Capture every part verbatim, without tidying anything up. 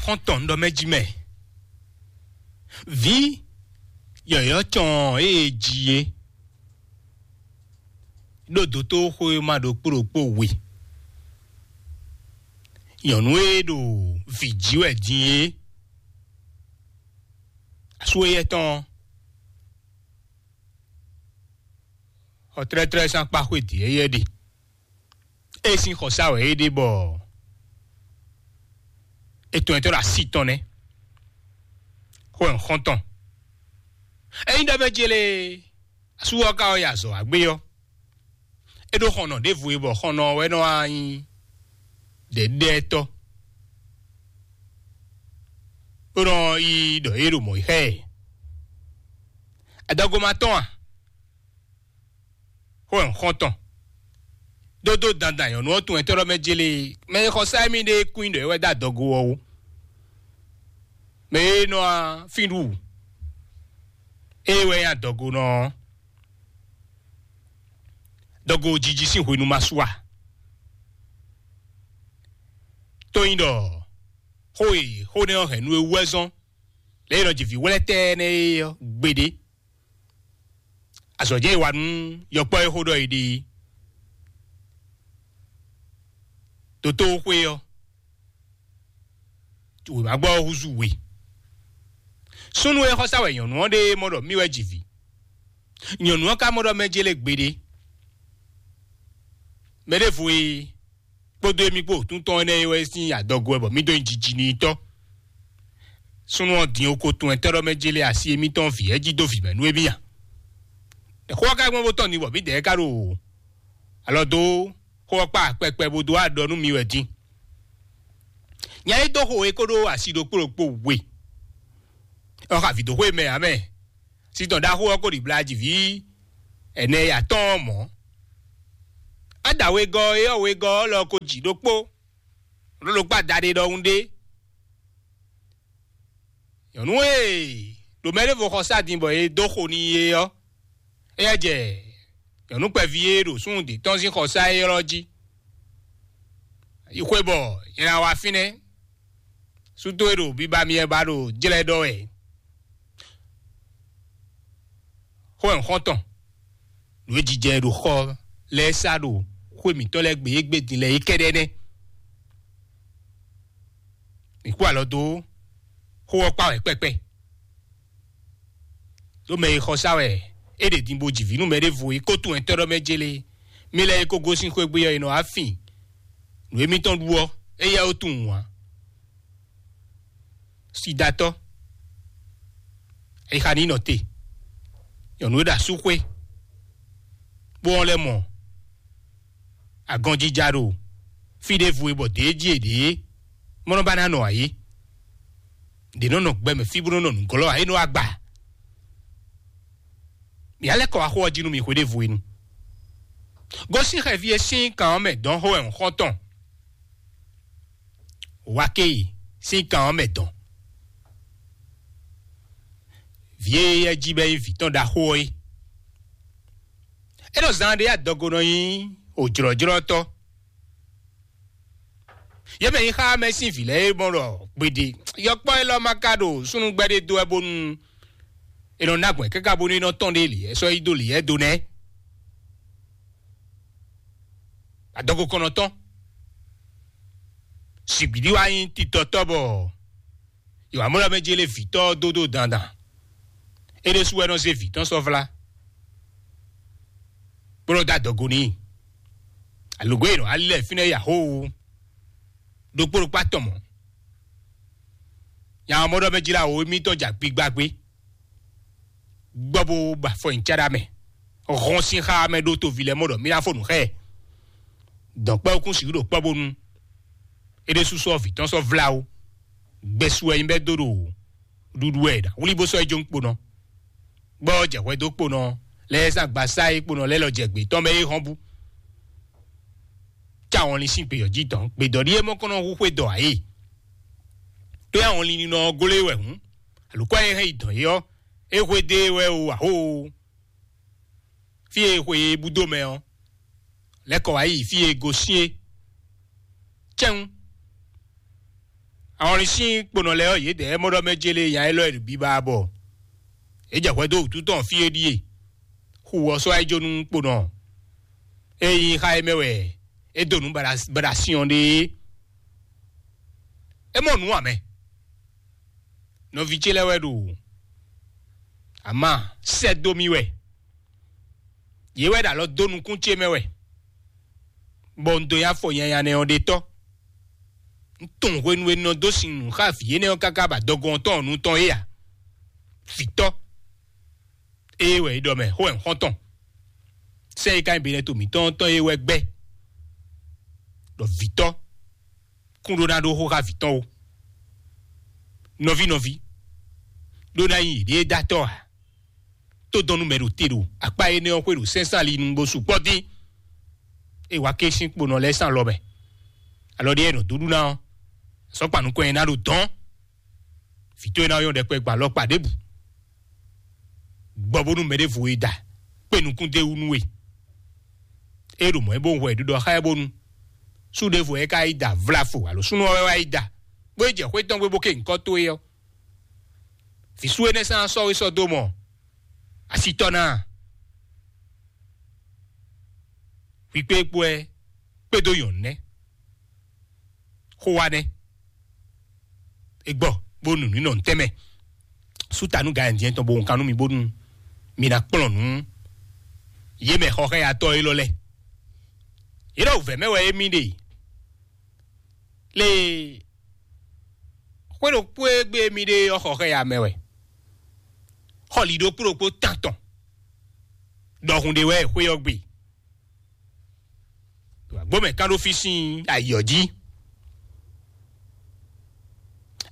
Xɔ́ntɔn ɖɔ mɛ jí mɛ. Vǐ yɔ̌yɔ́ cɔn e ji é ɖó dotóxwéma ɖokpó ɖokpó we. Nyɔ̌nu e ɖo vǐ jí wɛ din é, asú éyɛ́ tɔn ɔ́, tlɛ́tlɛ́ sín akpá xwé dǐ éyɛ́ ɖe. É sín xɔsá wɛ é ɖe bɔ é tɔn nyitɔ́ ɖo así tɔn nɛ́. Xó wɛ un xɔ́n tɔn. Ényí ɖɔ mɛ jélé asú ɔ́ ka ɔ́ yi azɔ̌ wá gbé ɔ́, é ɖó xɔnɔ ɖěvo e bɔ xɔnɔ ɔ́ wɛ nɔ wá nyí ɖɛ̌ɖɛ́tɔ́, bó nɔ yi ɖɔ é ɖo mɔ̌ yi xá ɛ. Adɔgo ma tɔn a? Xó wɛ un xɔ́n tɔn. Dódó dandan nyɔ̌nu ɔ́ tunwun ɛtɔ́ ɖɔ mɛ jélé mɛ e xɔ sá émí ɖe kún ɖɔ é wɛ dó adɔgo ɔ́ wú. Mɛ e nɔ fínɖu ée wɛ nyí adɔgonɔ ɔ́, dɔgo jiji sín hwenu ma su a? Tó nyí ɖɔ xó e xó nɛ́ ɔ́ hɛn nú é wú wɛ zɔ́n lě e nɔ ji vǐ wlɛ́tɛ́ énɛ́ é ɔ́ gbeɖé. Azɔ̌ jɛ e wa nú yɔkpɔ́ e xó ɖɔ è ɖe é. Dotóxwé ɔ́, wěma gbɔ ɔ́ húzú we. Súnnu e xɔsá wɛ nyɔ̌nu ɔ́ ɖe mɔ ɖɔ mì wɛ ji vǐ. Nyɔ̌nu ɔ́ ka mɔ ɖɔ mɛ jélé gbeɖé. Mɛ ɖěvo e kpódó émí kpó wǔtúntɔn énɛ́ é wɛ sín adɔgo wɛ bɔ mí dó nyi jiji n'i tɔ́. Súnnu ɔ́ din oko tun ɛtɛ́ ɖɔ mɛ jélé asi émítɔn vǐ ɛ́ jí dó vǐ mɛ nú émí a? Xó ɔ́ ka gbɔn bó tɔn din bɔ mǐdɛɛ ka ɖo alɔ dó xó ɔ́ kpa kpɛkpɛ bó dó aɖɔ nú mi wɛ din. Nya e dó xo e kó ɖó asi ɖokpó ɖokpó we ɔ́ xa vǐ dó xwé mɛ ǎ mɛ. Sítɔn ɖaxó ɔ́ kó ɖi blají vǐ ɛnɛ e atɔ́ɔ́n mɔ̌. Ada wegɔ́ e ɔ́ wegɔ́ ɔ́ lɔ ko jǐ ɖokpó, ɖó ɖokpó adaɖé ɖɔhun ɖé. Nyɔ̌nu e ɖo mɛ ɖěvo xɔ sá din bɔ è dó xo n'i é ɔ́, éyɛ́ jɛ nyɔ̌nu kpɛví e ɖo súnnu dě tɔn sín xɔsá élɔ́ jí. Yi xwé bɔ nyɛ ná wá fínɛ́. Sú towe ɖo biba myɛ ba ɖo jlɛ́ ɖɔ wɛ. Xó wɛ un xɔ́n tɔn. Nǔ e jijɛ ɖo xɔ lɛ́ɛ sá ɖo xwé mǐtɔn lɛ́ɛ gbe égbé din lɛ́ɛ é kɛ́ɖɛ́ nɛ́. Mǐ kú alɔ dó xó ɔ́ kpá wɛ kpɛkpɛ. Ɖó mɛ e xɔ sá wɛ é ɖe din bó ji vǐ nú mɛ ɖěvo é kó tunwun ɛtɔ́ ɖɔ mɛ jélé. Mí lɛ́ɛ é kó gosín xwé gbe ɔ́, è nɔ wá fin nǔ émítɔn ɖu ɔ́, éyɛ́ ó tunwun ǎ. Sidatɔ́, ayixa ní nɔ te. Nyɔ̌nu e ɖo asúxwé bó wɔn lɛ́ mɔ agɔnjija ɖo fí ɖěvo e bɔ dě jí è ɖě mɔ́ nɔ ba ná nɔ ayé. Ɖě nɔ nɔ gbɛmɛ fí bó nɔ nɔ nǔglɔ́ ayé nɔ agba. Mǐ alɛ́ kɔ wá xó ɔ́ jí nú mi hweɖěvo e nu. Gosín xɛví e sín kan ɔ́ mɛ dɔn xó wɛ un xɔ́n tɔn. Wá ké yi sín kan ɔ́ mɛ dɔn. Vǐ e yɛ jí bɔ é nyí vǐ tɔn ɖaxó ɔ́ é. É ɖo zan ɖé adɔgo nɔ nyí òjlɔ́jlɔ́tɔ́. Yě mɛ nyí xá mɛ sín vǐ lɛ́ɛ é mɔ ɖɔ gbeɖe yɔkpɔ́ élɔ́ ma ka ɖo súnnugbɛ́ ɖé dó wɛ bónú è nɔ ná gbɔn káká bónú é nɔ tɔn ɖe lǐyɛ sɔ́ yi dó lǐyɛ do nɛ́. Adɔgo kɔnɔtɔn. Sigbǐɖí wá nyí titɔtɔ́ bɔ Yohan mɔ ɖɔ mɛ jélé vǐtɔ́ ɔ́ dó ɖo dandan. É ɖésú wɛ nɔ zé vǐ tɔn sɔ́ vlá, bó nɔ dó adɔgo n'i. Alǒgó e nɔ wá lɛ fínɛ́ yi axóo ɖokpó ɖokpó atɔn mɔ̌. Nya ɔ́ mɔ ɖɔ mɛ jlá wo émítɔn ja gbigba gbé, gbɔ bó ba afɔ nyi cáɖá mɛ, hɔn sín xá mɛ ɖó toví lɛ́ɛ mɔ ɖɔ mí ná fó nǔ xá ɛ. Dɔ̌nkpɛ́wúkún sixú ɖo kpɔ́ bónú é ɖésú sɔ́ vǐ tɔn sɔ́ vlá ó. Gbɛ́sú wɛ nyí bɛ́ dó ɖo ɖuɖu wɛ ɖa wlí bó sɔ́ yi jó kponɔ, gbɔ jɛ hwɛ dó kponɔ lɛ́ɛ zán gbasá e kponɔ lɛ́ɛ lɔ jɛ gbě tɔn mɛ é hɔn bú. Cá wɔnlin sín gbeyɔ̌ jí dɔn gbedɔ̌ ɖíe mɔ kɔn nɔ hu xwé dɔ ǎ é. Tó yá wɔnlin ninɔ ɔ́ glé wɛ hǔn, alǒkɔ e hɛn yi dɔn é ɔ́, é hwedó e wɛ o axóo. Fí e xwe e búdó mɛ ɔ́, lɛ́ kɔ wá yi fí e gosín é. Cɛ́n. Ahɔnlin sín kponɔ lɛ́ɛ ɔ́, yědɛɛ mɔ ɖɔ mɛ jélé nya élɔ́ e ɖo biba bɔ é jɛ hwɛ dó wǔtu tɔn fí é ɖíe. Xu ɔ́ sɔ́ wá yi jó nú kponɔ e nyí xá é mɛ wɛ é dó nǔ baɖa- baɖasin ɔ́ ɖe é. É mɔ nǔ ǎ mɛ. Nɔví ce lɛ́ɛ wɛ ɖo ama sɛ́ dó mì wɛ. Yě wɛ ɖo alɔ dó nukún ce mɛ wɛ, bɔ un dó nyi afɔ nyanya nɛ́ ɔ́ ɖe tɔ́. Un tunwun hwenu e un nɔ dó sin nǔ xá vǐ énɛ́ ɔ́ káká ba dɔgɔn tɔn ɔ́ nu tɔn é ǎ. Vǐtɔ́, ée wɛ é ɖɔ mɛ, xó wɛ un xɔ́n tɔn. Sɛ́n e ka nyí benɛto mǐtɔn tɔn é wɛ gbɛ́ ɖɔ vǐtɔ́ kún ɖó ná ɖó xó xá vǐ tɔn ó. Nɔví nɔví, ɖó ná nyí yěɖée dó atɔ́ ǎ. Tó dɔn nú mɛ ɖo te ɖo akpá énɛ́ ɔ́ xwé ɖo sɛ́nsán ali nugbo sukpɔ́ dín. É wá ké sín kponɔ lɛ́ɛ sín alɔ mɛ. Alɔ ɖé e nɔ dó ɖu ná ɔ́, sɔ́kpa nukɔn e ná ɖo dɔn. Vǐ towe ná nyɔ́ ɖɛkpɛ gbɔn alɔkpa ɖěbǔ. Gbɔ bónú mɛ ɖěvo e da kpé nukún d'é wú nú we. É ɖo mɔ̌ é bó hwɛ ɖiɖɔ xá ɛ bónú sú ɖěvo é ka yi da vlafo alo súnnu ɔ́ wɛ wá yi da, bó yi jɛ xwé tɔn gbé bó ké nyǐkɔ towe ɔ́. Vǐ sú énɛ́ sán sɔ́ we sɔ́ dó mɔ asitɔ́ ná a? Hwi kpé kpó ɛ kpédó nyɔ̌nu nɛ́. Xó wa nɛ́. É gbɔ bó nu nǔ nɔ ntɛ́nmɛ. Sú ta nú gǎnjɛ́n tɔn bó wun kan nú mi bónú mi ná kplɔ́n nǔ yě mɛ xɔxɛ́yatɔ́ élɔ́ lɛ́ɛ. Yě ɖɔ wǔvɛ́ mɛ wɛ émí ɖe. Lée xwé ɖokpó e gbé émí ɖe ɔ́ xɔxɛ́ya mɛ wɛ. Xɔli ɖokpó ɖokpó tán tɔn ɖɔhun ɖé wɛ xwé ɔ́ gbe. Ɖo agbó mɛ kán ɖó fí sín ayǐ ɔ́ jí.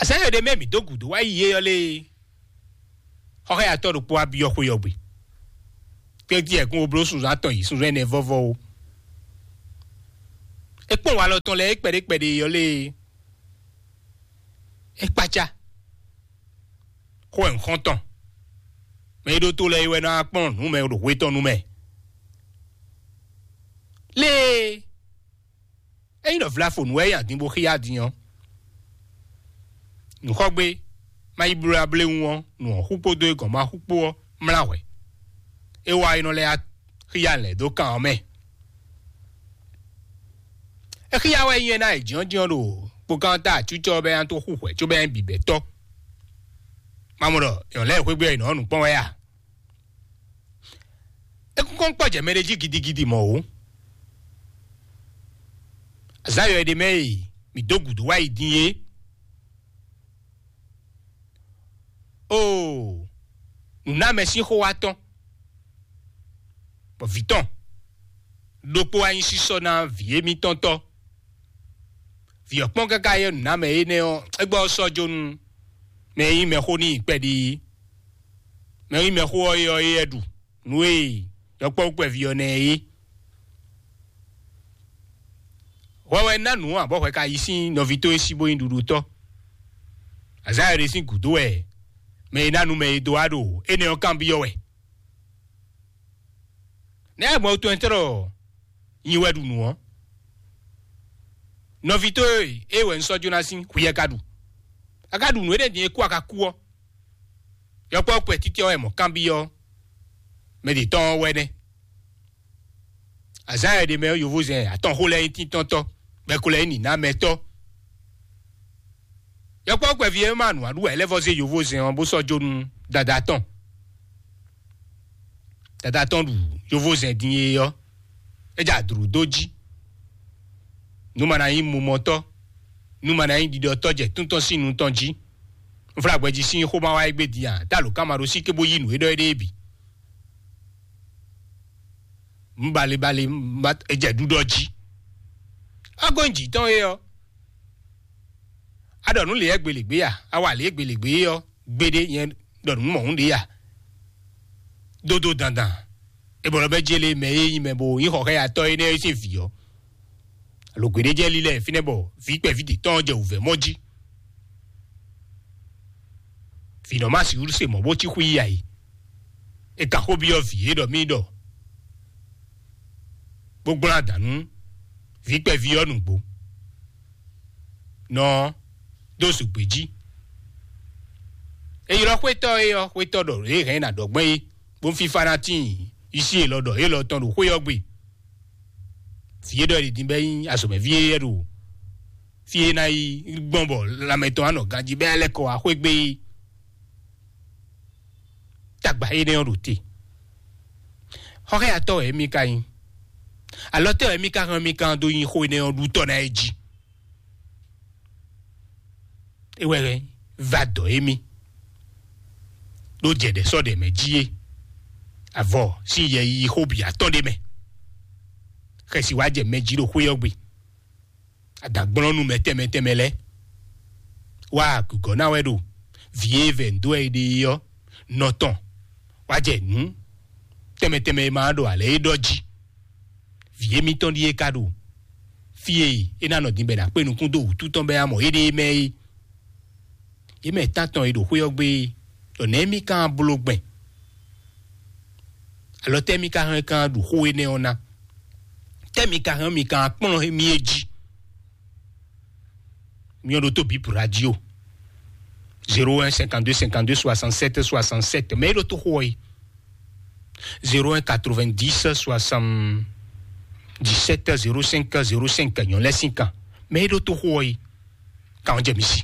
Azǎn e ɖe mɛ mǐ dó gǔdo wá yi é ɔ́ lée, xɔxɛ́yatɔ́ ɖokpó wá byɔ́ xwé ɔ́ gbe. Kédí ɛkún wo bló sunzán atɔn yi sunzán ɛnɛ vɔ́vɔ́ ó. É kpɔ́n walɔ tɔn lɛ́ɛ é kpɛɖé kpɛɖé ɔ́ lée, é kpácá. Xó wɛ un xɔ́n tɔn. Mɛ e ɖó tó lɛ́ɛ é wɛ ná kpɔ́n nǔ mɛ ɖo hwe tɔn nu mɛ. Lée, ényí ɖɔ vlafonu wɛ é nyi adin bó xíyá din ɔ́, nǔxɔ́gbé má yi bló abléwún ɔ́, nǔ ɔ́ xú kpódó é gɔ̌n má xú kpó ɔ́ mlá hwɛ̌. É wá é nɔ lɛ́ xíyá lɛ̌ dó kan ɔ́ mɛ. É xíyá wɛ nyí é ná yi jǐnɔ́jínɔ́ ɖo kpokán ta acúcɔ bɛ́ ná tó xú hwɛ̌ cóbɛ́ ná bǐbɛ́ tɔ́. Má mɔ ɖɔ nyɔ̌ lɛ́ɛ xwégbé ɔ́, yě nɔ nǔ kpɔ́n wɛ a? É kúnkɔ́n kpɔ́ jɛ mɛ ɖé jí gidigidi mɔ̌ ó. Azǎn yɔ è ɖe mɛ e mǐ dó gǔdo wá yi din é. Oo, nǔnámɛ sín xó wá tɔ́n, bɔ vǐ tɔn ɖokpó wá nyí sísɔ́ ná vǐ émítɔn tɔ́. Vǐ ɔ́ kpɔ́n káká yɛ nǔnámɛ énɛ́ ɔ́, é gbɔ ɔ́ sɔ́ jó nú mɛ e nyí mɛxó n'i kpɛɖi, mɛ e nyí mɛxó ɔ́ é ɔ́, é ɖu nǔ e yɔkpɔ́vú kpɛví ɔ́ ná ɛ é. Hwɛ wɛ ná nǔ ǎ, bɔ hwɛ ka yi sín nɔví towe sí bó nyí ɖuɖutɔ́. Azǎn e ɖe sín gǔdo wɛ mɛ e ná nu mɛ e dó wá ɖo énɛ́ ɔ́ kanbyɔ́ wɛ. Nɛ̌ mɔ̌ tɔn ɛ tlɔ́ nyi wɛ ɖu nǔ ɔ́? Nɔví towe e wɛ un sɔ́ jó ná sín hwi yɛ ka ɖu. A ka ɖu nǔ énɛ́ din e kú a ka kú ɔ́, yɔkpɔ́vú kpɛtítí ɔ́ wɛ mɔ̌ kanbyɔ́ mɛ ɖě tɔn ɔ́ wɛ nɛ́. Azǎn e ɖe mɛ ɔ́, yovózɛn atɔn xó lɛ́ɛ nyí tíntɔ́ntɔ́, bɔ é ko lɛ́ nyí nǐnámɛtɔ́. Yɔkpɔ́vú kpɛví e ma nǔ wa ɖu wɛ é lɛ́ vɔ́ zé yovózɛn ɔ́ bó sɔ́ jó nú dada tɔn. Dada tɔn ɖu yovózɛn din e ɔ́, é jɛ adlǔ dó jí. Nú ma ná nyí mumɔtɔ́, nú ma ná nyí ɖiɖɔtɔ́ jɛ tún tɔn sín nu tɔn jí. Un flá gbɛjí sín xó ma wá égbé din a? Tá lǒ ká ma ɖó sí cóbó yí nǔ e ɖɔ é ɖée bǐ. Un balebale, un ba é jɛ ɖuɖɔ jí. Agɔn jǐ tɔn é ɔ́, a ɖɔ nǔ lě ɛ gbelegbé a? A wa lě e gbelegbé é ɔ́ gbeɖé nyɛ ɖɔ nǔ mɔ̌hun ɖě a? Dódó dandan, é bɔ lɔ bɛ jélé mɛ e nyí mɛ bo nyí xɔxɛ́yatɔ́ énɛ́ é sín vǐ ɔ́, alo gbeɖé jɛ lílɛ fínɛ́ bɔ vǐ kpɛví ɖě tɔn jɛ wǔvɛ́ mɔ jí. Vǐ nɔ má sixú se mɔ̌ bó cí xwí yí ayǐ. É ka xó byɔ́ vǐ é ɖɔ mì ɖɔ bó gblɔ́n adǎn nú vǐ kpɛví ɔ́ nǔgbó. Nɔ ɔ́, dó zǔgbé jí. È ylɔ́ xwétɔ́ é ɔ́, xwétɔ́ ɖɔ lě hɛn ná ɖɔ gbɛ́n é, bó fífá ná tíin, yí sí élɔ́ ɖɔ élɔ́ tɔn ɖo xwé ɔ́ gbe. Vǐ é ɖɔ è ɖi din bɛ́ nyí azɔ̌mɛví éyɛ́ ɖo fí e ná yi gbɔn bɔ lanmɛ tɔn wá nɔ ganjí bɛ́ lɛ́ kɔ wá xwé gbé é. Tagba énɛ́ ɔ́ ɖo te. Xɔxɛ́yatɔ́ wɛ émí ka nyí. Alɔ tɛ́ wɛ émí ka hɛn mì kan dó nyi xó énɛ́ ɔ́ ɖu tɔ́ ná é jí? É wɛ hɛn va dɔ émí ɖó jɛ ɖɛ sɔ́ ɖɛ mɛ jí é. Avɔ sín yɛ yi xó bǐ atɔ́ ɖé mɛ. Xɛsi wá jɛ mɛ jí ɖo xwé ɔ́ gbe. Adǎgblɔ́nú mɛ tɛnmɛ tɛnmɛ lɛ́ɛ wá gǔgɔ́ ná wɛ ɖo vǐ e vɛ ndo ɛ ɖe é ɔ́ nɔ tɔn wá jɛ nǔ tɛnmɛ tɛnmɛ e ma ɖo alɛ é ɖɔ jí. Vǐ émítɔn ɖíe ka ɖo fí e é ná nɔ din bɔ è nǎ kpé nukún dó wǔtu tɔn bɔ é ná mɔ éɖée mɛ é. Yě mɛ tántɔn e ɖo xwé ɔ́ gbe é, ɖɔ nɛ̌ mì ka bló gbɛn? Alɔ tɛ́ mì ka hɛn kan ɖu xó énɛ́ ɔ́ ná? Tɛ́ mì ka hɛn mì kan kplɔ́n mì é jí? Mì ɔ́ ɖo tó bǐ radio. Zéro un cinquante-deux cinquante-deux soixante-sept soixante-sept. Mɛ é ɖo tó xó ɔ́ é. Zéro un quatre-vingt-dix soixante-dix-sept zéro cinq zéro cinq. Nyɔ̌ lɛ́ sín kan. Mɛ é ɖo tó xó ɔ́ é. Kan ɔ́ jɛ mi sí.